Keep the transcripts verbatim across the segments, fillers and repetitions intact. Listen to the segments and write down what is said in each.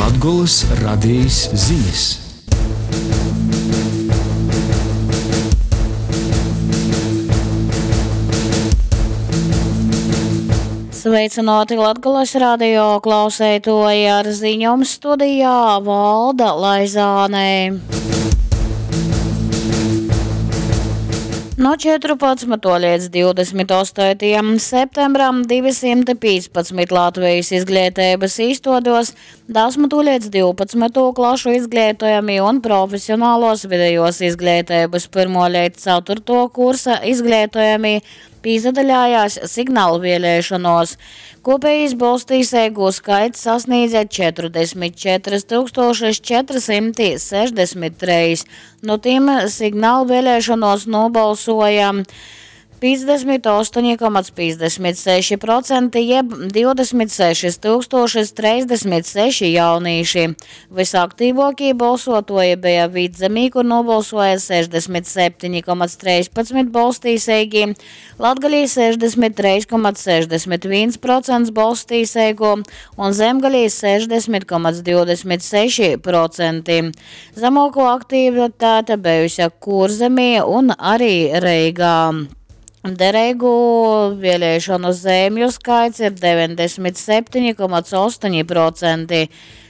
Latgolys radejis zinis. Sveicināti Latgolas radio klauseitoji ar ziņom studijā Valda Laizāne. No četrpadsmytuo līdz divdesmit ostotajam septembram divi simti pīcpadsmit Latvijas izglītības īstuodos, desmito līdz divpadsmito klašu izglītojami un profesionālos vidējos izglītības pirmo līdz ceturto kursa izglītojami pīzadaļājās signālu vēlēšanos. Kopējais balstīsēgu skaits sasniedza četrdesmit četras tūkstošas četrsimti sešdesmit treis. No tiem signālu vēlēšanos nobalsoja piecdesmit astoņi komats piecdesmit seši procenti, jeb divdesmit sešas tūkstošas trīsdesmit seši jaunīši. Visaktīvākie balsotoji bija Vidzemī, kur nobalsoja sešdesmit septiņi komats trīspadsmit balstīsēgi, Latgalī sešdesmit trīs komats sešdesmit viens procents balstīsēgu un Zemgalī sešdesmit komats divdesmit seši procenti. Zemāko aktivitāte bijusi Kurzemī un arī Reigā. Derīgu vēlēšanu zemju skaits ir deviņdesmit septiņi komats astoņi procenti.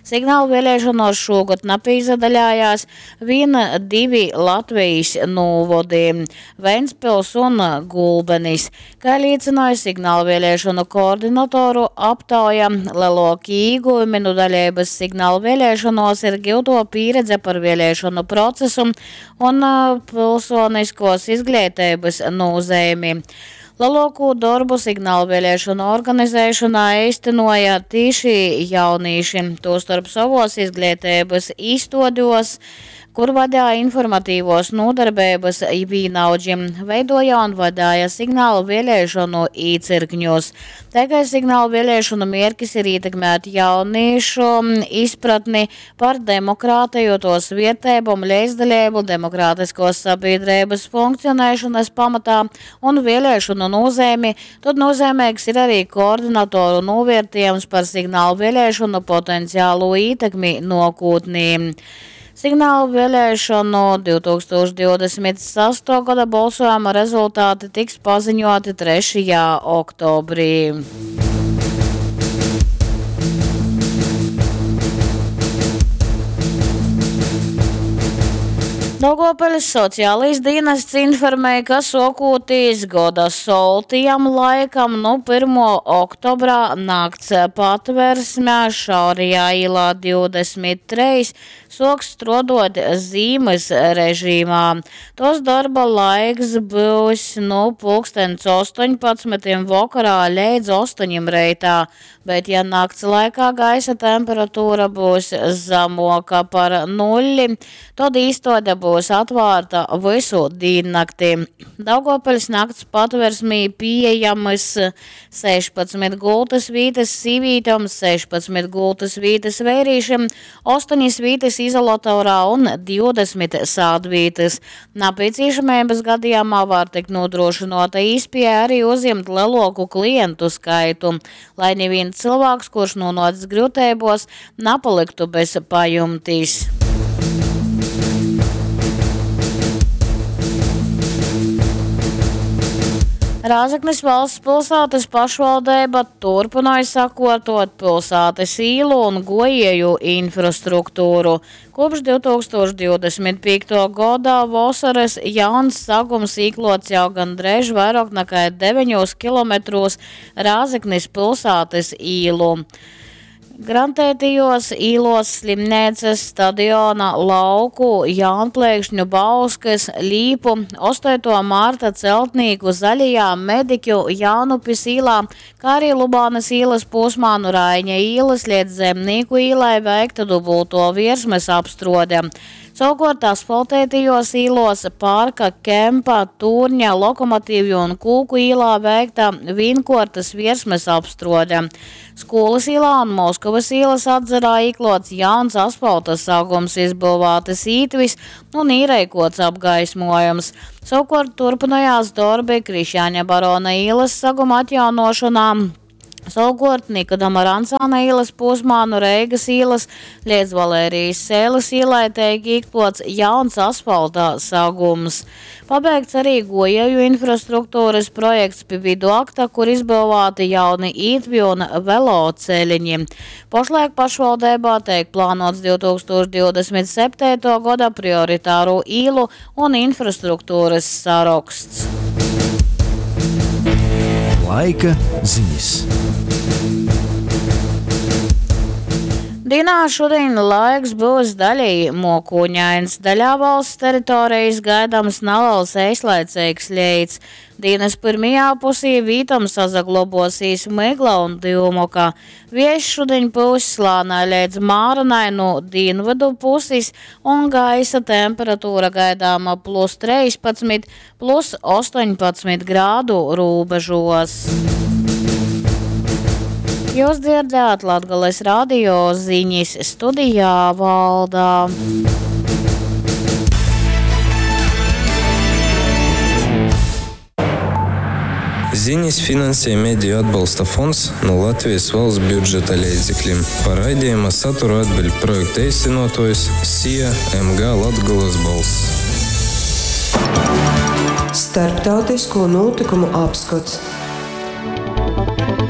Signālu vēlēšanos šogad napīzadaļājās vien divi Latvijas novadi – Ventspils un Gulbenis. Kā liecināja signālu vēlēšanu koordinatoru aptauja, lielākie ieguvumi no dalības signālu vēlēšanos ir gūto pieredze par vēlēšanu procesu un, ā, pilsoniskos izglītības nozīmi. Lielāko darbu signālu vēlēšanu organizēšanā īstenoja tieši jaunīši, tostarp savos izglītības īstodos, kur vadīja informatīvos nodarbības vīnaudžiem, veidoja un vadīja signālu vēlēšanu īcirkņos. Tā kā signālu vēlēšanu mērķis ir ietekmēt jauniešu izpratni par demokrātiju, tos vietējumu, līdzdalību, demokrātiskos sabiedrības funkcionēšanas pamatā un vēlēšanu nozīmi, tad nozīmīgs ir arī koordinatoru novērtējums par signālu vēlēšanu potenciālo ietekmi nākotnē. Signālu vēlēšanu divtūkstoš divdesmit sesto gada balsojuma rezultāti tiks paziņoti trešajā oktobrī. Daugavpils sociālais dienests informēja, ka sokūtīs goda soltijam laikam nu pirmo oktobrā nakts patversmē Šaurijā ielā divdesmit treis soks strodot zīmes režīmā. Tos darba laiks būs nu pulkstens astoņpadsmitiem vakarā līdz astoņiem reitā, bet ja nakts laikā gaisa temperatūra būs zemoka par nulli, tad īstode būs atvērta visu diennakti. Daugavpils nakts patversmī pieejamas sešpadsmit gultas vītas sīvītēm, sešpadsmit gultas vītas vērīšiem, astoņas vītas izolatorā un divdesmit sādvītas. Nepieciešamības gadījumā var tikt nodrošinota īspēja arī uzņemt lielāku klientu skaitu, lai neviens cilvēks, kurš nonācis grūtībos, nepaliktu bez pajumtis. Rēzeknes valsts pilsētas pašvaldība turpināja sakārtot pilsētas īlu un gojēju infrastruktūru. Kopš divtūkstoš divdesmit piekto gada vasaras jauns sagums īklots jau gandrīz vairāk nekā deviņos kilometros Rēzeknes pilsētas īlu. Grantētījos īlos slimnīcas, stadiona, lauku, Jaunplēkšņu, Bauskas, Līpu, astoto marta Celtnīku, Zaļajā, Mediķu, Jaunupis īlā, kā arī Lubānas īlas posmā no Raiņa īlas līdz Zemnieku īlai veikta dubulto virsmas apstrode. Savukārt asfaltētajos īlos Parka, Kempa, Tūrņa, Lokomotīvju un Kūku īlā veikta vīnkortas virsmas apstrode. Skolas īlā un Moskavas ielas atzarā īklots jauns asfalta sagums, izbūvētas ītvis un īreikots apgaismojums. Savukārt turpinājās darbi Krišjāņa Barona ielas saguma atjaunošanā. Savukuort Nikodama Rancāna īlys pūsmā nu Reigys īlys leidz Valērijas Seilis īlai teik īkluots jauns asfalta sagums. Pabeigts arī guojieju infrastruktūrys projekts pi viduakta, kur izbyuvāti jauni ītvi un veloceliņi. Pošlaik pašvaldeibā teik plānuots div tūkstoš divdesmit septeituo goda prioritāru īlu un infrastruktūrys saroksts. Laika ziņas. Dienā šodien laiks būs daļēji mokūņains. Daļā valsts teritorijas gaidāms neliels eislaicīgs leits. Dienas pirmajā pusī vītom sasaglobosīs mygla un dyumoka. Viejs šodien pūs slānai līdz māranai no dienvidu puses un gaisa temperatūra gaidāma plus trīspadsmit, plus astoņpadsmit grādu robežos. Jūs dzirdējāt Latgales radio ziņas, studijā Valda. Ziņas finansē Mediju atbalsta fonds no Latvijas valsts budžeta līdzekļiem. Par raidījuma saturu atbild projekta īstenotājs SIA M G Latgolas balss. Starptautisko notikumu apskats.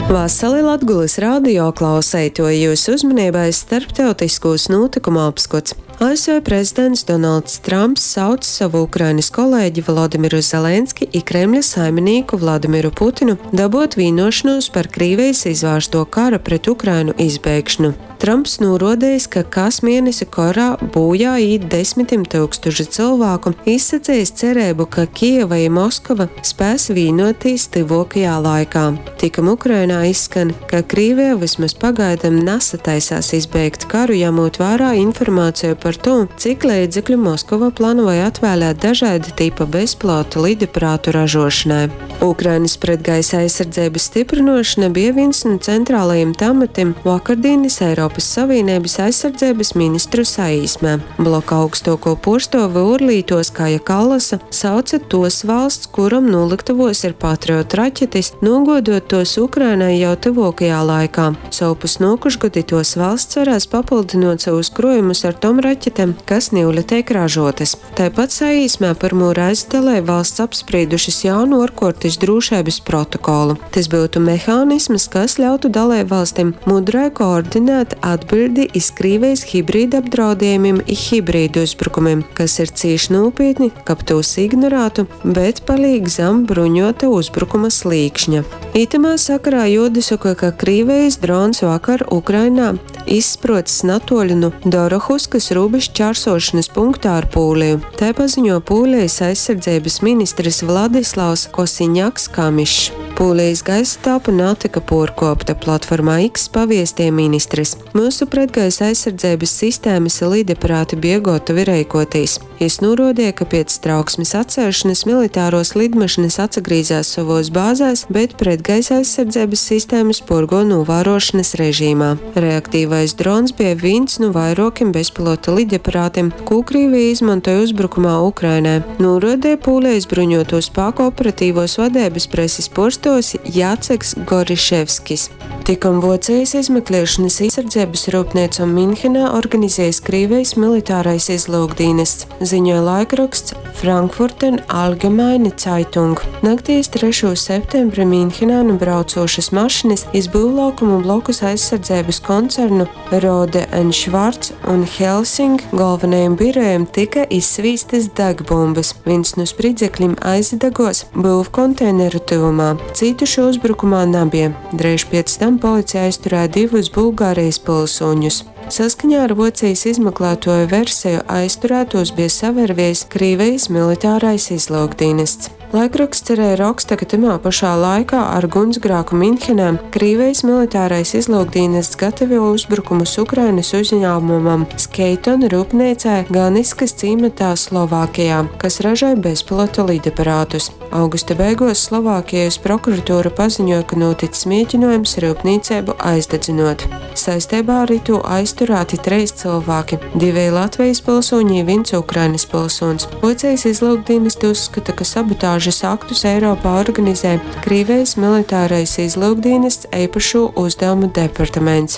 Vasali Latgulas radio klauseitoji, jūsu uzmanībai starptautiskos notikumu apskats. A S V prezidents Donalds Trumps sauc savu Ukrainas kolēģi Vladimiru Zelenski i Kremļa saiminīku Vladimiru Putinu dabot vienošanos par Krīvijas izvērsto kara pret Ukrainu izbeigšanu. Trumps norodījis, ka kas mēnesi karā bojā īt desmitiem tūkstoši cilvēku, izsacījis cerību, ka Kijeva i Moskava spēs vienoties tuvākajā laikā. Tikam Ukrainā izskan, ka Krīvija vismaz pagaidām nesataisās izbeigt karu, ņemot vērā informāciju par to, cik līdzekļu Moskova plānoja atvēlēt dažāda tipa bezpilota lidaparātu ražošanai. Ukrainas pretgaisa aizsardzības stiprinošana bija viens no centrālajiem tematiem vakardienas Eiropas Savienības aizsardzības ministru saīsmē. Bloka augstāko porstovi Urlītos Kaja Kallasa sauca tos valsts, kuram noliktavos ir Patriot raķetes, nogodot tos Ukrainai jau tuvākajā laikā. Savpus nokušgadi tos valsts varēs papildinot savus krojumus ar tom raķetēm, kas niule tiek ražotas. Tāpat saīsmē pirmo reizi dalību valsts apspriedušas jaunu ārkārtas drošības protokolu. Tas būtu mehānisms, kas ļautu dalību valstīm mudrai koordinēt atbildi iz Krīvijas hibrīda apdraudējumiem i hibrīdu uzbrukumiem, kas ir cīši nopietni, kab tos ignorētu, bet palīk zem bruņota uzbrukuma slīkšņa. Itamā sakarā juodasaka, ka Krīvijas drons vakar Ukrainā izsprocis natoļu nu Dorohuskas robežu čārsošanas punktā ar Pūliju. Tā paziņo Pūlijas aizsardzības ministrs Vladislavs Kosiņaks Kamišs. Pūlijas gaisa telpa netika porkopta, platformā X paviestie ministrs. Mūsu pretgaisa aizsardzības sistēmas lidaparāti bija gatavi reikotīs. Jis norodīja, ka pēc trauksmes atcelšanas militāros lidmašīnas atsagrīzās savos bāzēs, bet pretgaisa aizsardzības sistēmas porgo novērošanas režīmā. Reaktīvais drons bija viens no vairākiem bezpilota lidaparātiem, ko Krievija izmantoja uzbrukumā Ukrainai. Norodīja Pūlijas bruņoto spēku operatīvos vadības preses porstos Jaceks Goriševskis. Tikom Vocijas izmeklēšanas aizsardzības rūpnīcu Minhenā organizējis Krievijas militārais izlūkdienests, ziņoja laikraksts Frankfurter Allgemeine Zeitung. Naktīs trešo septembri Minhenā nu braucošas mašinas iz būvlaukumu blokus aizsardzības koncernu Rohde and Schwarz un Helsing galvenajiem birojiem tika izsvīstas degbumbas. Viens no spridzekļiem aizdegos būvkonteineru tuvumā. Cietušo uzbrukumā nebija. Dreiž pēc tam policija aizturēja divus Bulgārijas pilsoņus. Saskaņā ar Vocijas izmeklētoju versiju aizturētos bija savervies Krīvijas militārais izlūkdienests. Laikraksts arī raksta, ka tamā pašā laikā ar gunsgrāku Minhenē Krīvijas militārais izlūkdienests gatavo uzbrukumus Ukrainas uzņēmumam Skeiton rūpnīcai Ganiskas cīmatā Slovākijā, kas ražoja bezpilota lidaparātus. Augusta beiguos Slovākijas prokuratūra paziņuoja, ka nūtics mieginuojums ryupnīceibu aizdadzynuot. Saisteibā ar itū aizturāti treis cylvāki - diveji Latvejis pylsūņi i vīns Ukrainys pylsūņs. Vuocejis izlyukdīnesti uzskata, ka sabotažys aktus Eiropā organizej Krīvejis militārais izlyukdīnests Eipašū uzdevumu departaments.